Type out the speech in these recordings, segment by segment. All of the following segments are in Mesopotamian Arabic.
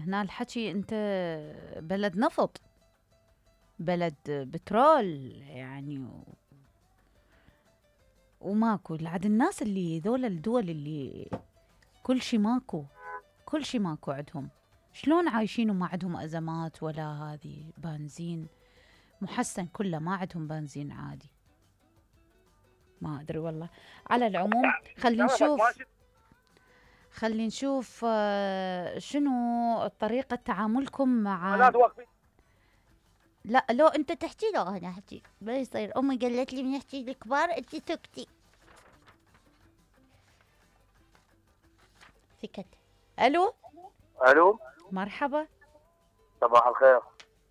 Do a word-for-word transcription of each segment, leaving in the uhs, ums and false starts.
هنا الحكي أنت بلد نفط، بلد بترول يعني، وماكو لعد الناس اللي ذول الدول اللي كل شي ماكو، كل شي ماكو عندهم، شلون عايشين وما عندهم أزمات ولا هذه بنزين محسن كله، ما عندهم بنزين عادي. ما أدري والله. على العموم خلينا نشوف خلينا نشوف آه شنو طريقة تعاملكم مع. لا توقفي. لا لو أنت تحكي لو أنا أحكي ما يصير. أمي قالت لي من يحكي الكبار أنت سكتي. سكت. ألو. ألو. مرحبا. صباح الخير.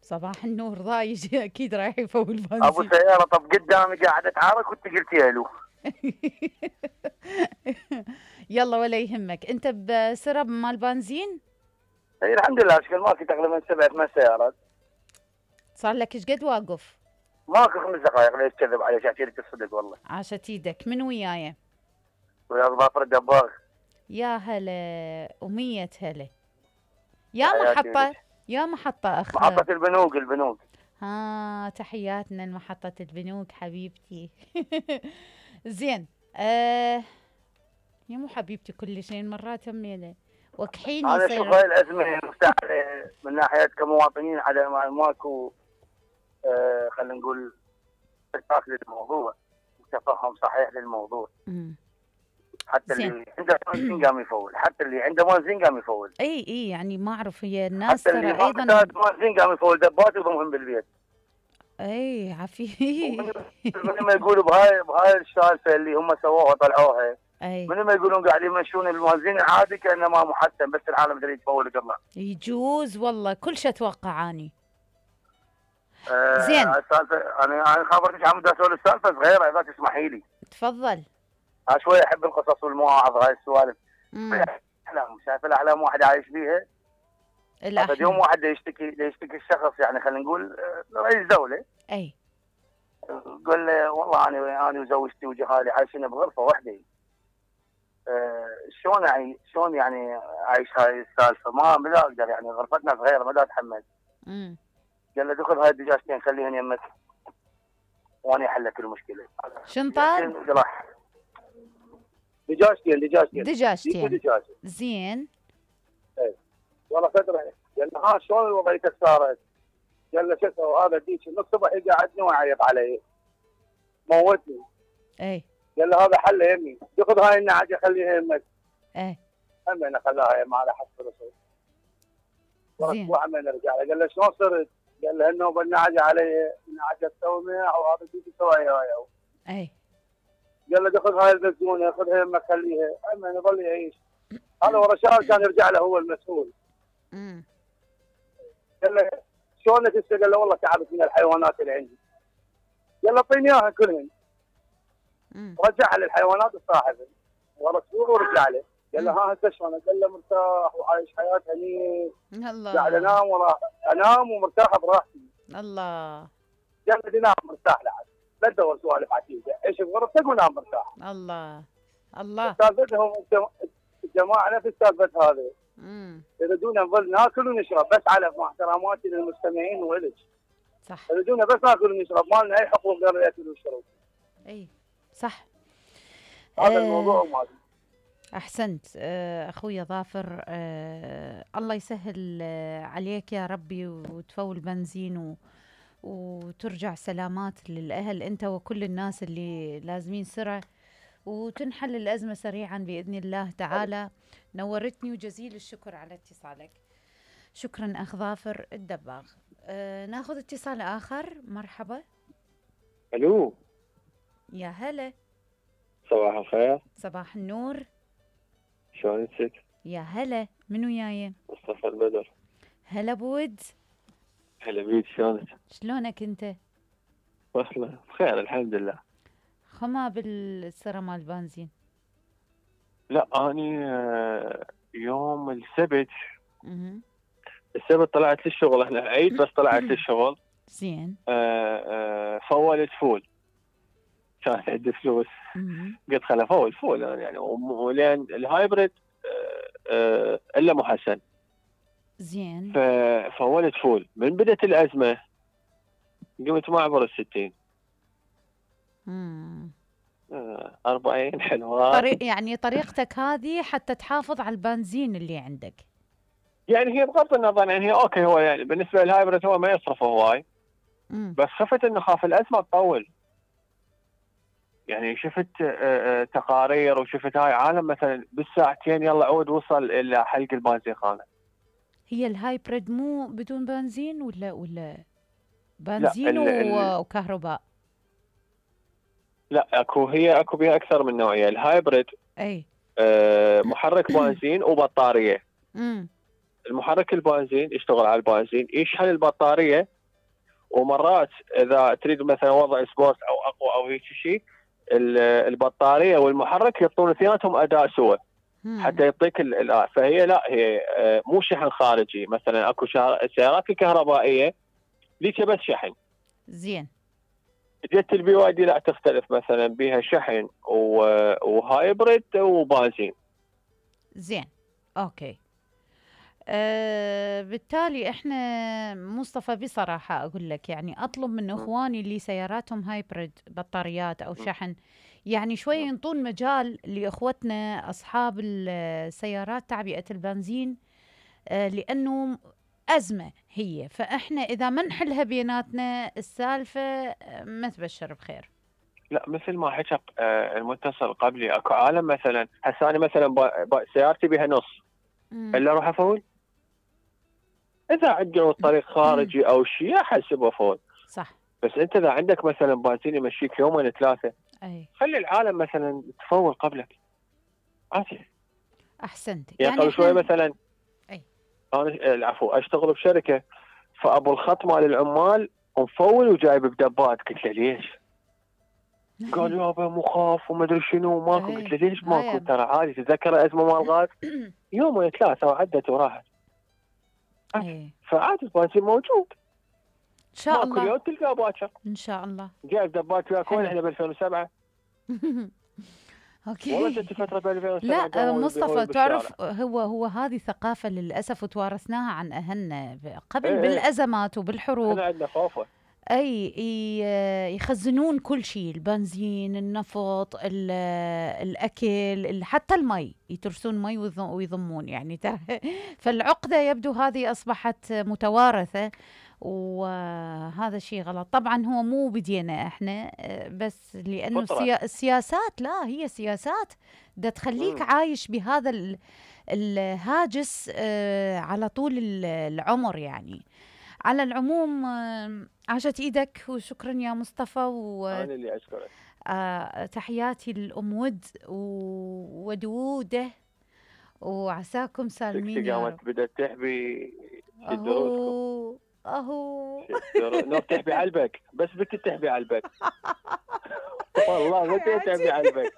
صباح النور. ضايج أكيد رايح يفول بنزين. أبو سيارة طب قدامي قاعدة تعارك وأنت قلتي ألو. يلا ولا يهمك. أنت بسرب مال بنزين؟ اي الحمد لله اشكال ماكو تقريبا سبع ثمان سيارات. صار لك ايش قد واقف؟ ماكو خمس دقائق. ليش تكذب علي؟ احكي لك الصدق والله. عاشت ايدك. من وياي؟ ويا ظافر الدباغ. يا هلا ومية هلا. يا محطة يا محطة أخ. محطة البنوك البنوك. ها تحياتنا لمحطة البنوك حبيبتي. زين آه يا مو حبيبتي كل شيء مرات همينة وكحيني. أنا أشوف هاي الأزمة مستعجلة من ناحية كمواطنين على ماكو آه خلينا نقول اتفاق للموضوع وتفهم صحيح للموضوع. مم. حتى زين. اللي عنده بنزين قام يفول، حتى اللي عنده بنزين قام يفول. اي اي يعني ما اعرف هي الناس ترى ايضا حتى اللي ما بنزين قام يفول دبات وضمهم بالبيت. اي عفي. من ما يقولوا بهاي بهاي السالفه اللي هم سووها طلعوها. اي من ما يقولون قاعد يمشون الموازين عادي كانما محسن بس العالم يدري يتفول قبله. يجوز والله كل شيء اتوقع اني. آه زين السالفه انا انا خبرتك عم بدي اسولف السالفه صغيره اذا تسمحي لي. تفضل. ها شويه احب القصص والمواعظ هاي السوالف. احلام شايف الاحلام واحد عايش بيها. الاحلام يوم واحد يشتكي يشتكي الشخص يعني خلينا نقول رئيس دوله. اي قال له والله انا انا وزوجتي وجهالي عايشين بغرفه واحده. أه شلون يعني شلون يعني عايش هاي السالفه؟ ما ما اقدر يعني غرفتنا صغيره ما اتحمل. امم قال له دخل هاي الدجاجتين خليهن يمك وانا احل لك المشكله. شن طار؟ دجاجتين دجاجتين دجاجتين دجاجتين زين. اي والله فتره. قال له ها شلون وضعيتك صارت؟ قال له شو اسوي هذا ديك من الصبح يقعدني ويعيط علي موتني. اي قال له هذا حل يمي خذ هاي النعجه خليها يمك. اي همين خلاها يم على حسب الرسول. زين وعمين رجع له قال له شلون صرت؟ قال له النوبه النعجه علي نعجه تومه او هذا ديك سوي هاي. اي قال له خذ هاي البزونه خذها يمك خليها. همين يظل يعيش. هذا ورا شهر كان يرجع له هو المسؤول. امم قال له شلونك هسه؟ قال له والله تعبت من الحيوانات اللي عندي. قال له اعطيني اياها كلهن. رجعها للحيوانات وصاحبه ورا اسبوع ورجع له. قال له ها هسه شلونك؟ قال له مرتاح وعايش حياه هنيه. الله. قاعد انام وراح انام ومرتاح براحتي. الله. قال له نام مرتاح لعد لا تدور سوالف عتيقه، عيش بغرفتك ونام مرتاح. الله الله. سالفتهم الجماعه نفس سالفه هذه. امم يريدون نظل ناكل ونشرب بس على مع احتراماتي للمستمعين والك. صح. يريدون بس ناكل ونشرب ما لنا اي حقوق غير الاكل والشرب. اي صح. هذا الموضوع مالي. احسنت اخوي ظافر. أه الله يسهل عليك يا ربي وتفول بنزين و وترجع سلامات للاهل انت وكل الناس اللي لازمين سرعه وتنحل الازمه سريعا باذن الله تعالى. نورتني وجزيل الشكر على اتصالك. شكرا اخ ظافر الدباغ. أه ناخذ اتصال اخر. مرحبا. الو. يا هلا. صباح الخير. صباح النور. شلونك؟ يا هلا. من وياي؟ مصطفى البدر. هلا بود. هلا بيك شلونك؟ شلونك انت؟ والله بخير الحمد لله. خما بالسرة مال بنزين؟ لا اني يوم السبت اها السبت طلعت للشغل. احنا عيد بس طلعت للشغل. زين. آه آه فولت فول. كان عندي فلوس. قلت خل افول فول يعني ولين الهايبريد آه آه الا محسن. زين. ففولت فول. من بدت الازمه قمت ما اعبر الستين. امم أربعين حلوات. طريق يعني طريقتك هذه حتى تحافظ على البنزين اللي عندك. يعني هي بغض النظر، يعني هي اوكي، هو يعني بالنسبه للهايبرد هو ما يصرف هواي، بس خفت انه خاف الازمه تطول. يعني شفت تقارير وشفت هاي عالم مثلا بالساعتين يلا عود وصل الى حلق البنزين خانه. هي الهايبرد مو بدون بنزين ولا ولا بنزين لا ال وكهرباء؟ لا اكو، هي اكو بها اكثر من نوعيه. الهايبرد اي آه محرك بنزين وبطاريه. امم المحرك البنزين يشتغل على البنزين، يشحن البطاريه، ومرات اذا تريد مثلا وضع سبورت او اقوى او هيك شيء، البطاريه والمحرك يعطون اثنيناتهم اداء سوا حتى يعطيك الاداء. فهي لا، هي مو شحن خارجي. مثلا اكو السيارات الكهربائيه ليك بس شحن. زين. جت البي واي دي لا تختلف، مثلا بيها شحن وهايبريد وبنزين. زين اوكي. أه بالتالي احنا مصطفى بصراحه اقول لك يعني اطلب من اخواني اللي سياراتهم هايبريد بطاريات او شحن يعني شوي ينطون مجال لاخوتنا اصحاب السيارات تعبئه البنزين، أه لانه ازمه هي، فاحنا اذا ما نحلها بيناتنا السالفه ما تبشر بخير. لا مثل ما حكى المتصل قبلي، اكو عالم مثلا هسه انا مثلا سيارتي بها نص الا اروح افول. اذا عندنا الطريق خارجي او شيء احسبه فول صح. بس انت اذا عندك مثلا بنزين يمشيك يومين ثلاثه، اي خلي العالم مثلا تفول قبلك عادي. احسنت. يعني, يعني قبل شوي مثلا اي انا العفو اشتغل بشركه، فابو الخط مال العمال مفول وجايب بدبات. قلت له ليش؟ قال يابا مو خاف وما ادري شنو ماكو. قلت له ليش ماكو؟ ترى عادي، تتذكر الازمه مال الغاز يومين ثلاثه وعدت وراحت. فعادي البنزين موجود ان شاء الله، كل يوم تلقاه باكر ان شاء الله. جايب دبات وياك وين احنا ب ألفين وسبعة. اوكي والله جت فتره ب ألفين وسبعة. لا مصطفى تعرف هو هو هذه ثقافه للاسف وتوارثناها عن اهلنا قبل ايه بالازمات وبالحروب. احنا عندنا خوفه. اي يخزنون كل شيء، البنزين، النفط، الاكل، حتى المي يترسون مي ويضمون يعني ترى. فالعقده يبدو هذه اصبحت متوارثه، وهذا شيء غلط. طبعا هو مو بدينا احنا، بس لانه السيا... السياسات لا هي سياسات دا تخليك م. عايش بهذا الهاجس على طول العمر يعني. على العموم عاشت ايدك وشكرا يا مصطفى. و... انا اللي اشكرك. آه تحياتي للام ود ودوده، وعساكم سالمين يا رب. بدأت تحبي اهو اهو نوب تحبي علبك، بس بك تحبي علبك. والله بك تحبي علبك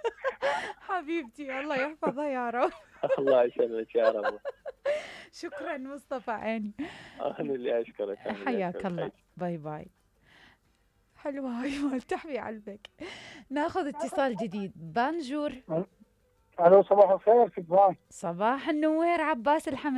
حبيبتي. الله يحفظها يا رب. الله يسلمك يا رب. شكرا مصطفى عيني. انا اللي اشكرك. حياك الله. باي باي. حلوه هاي مال تحبي علبك. ناخذ اتصال جديد. بانجور. الو صباح الخير. كيف صباح النوير عباس الحمد.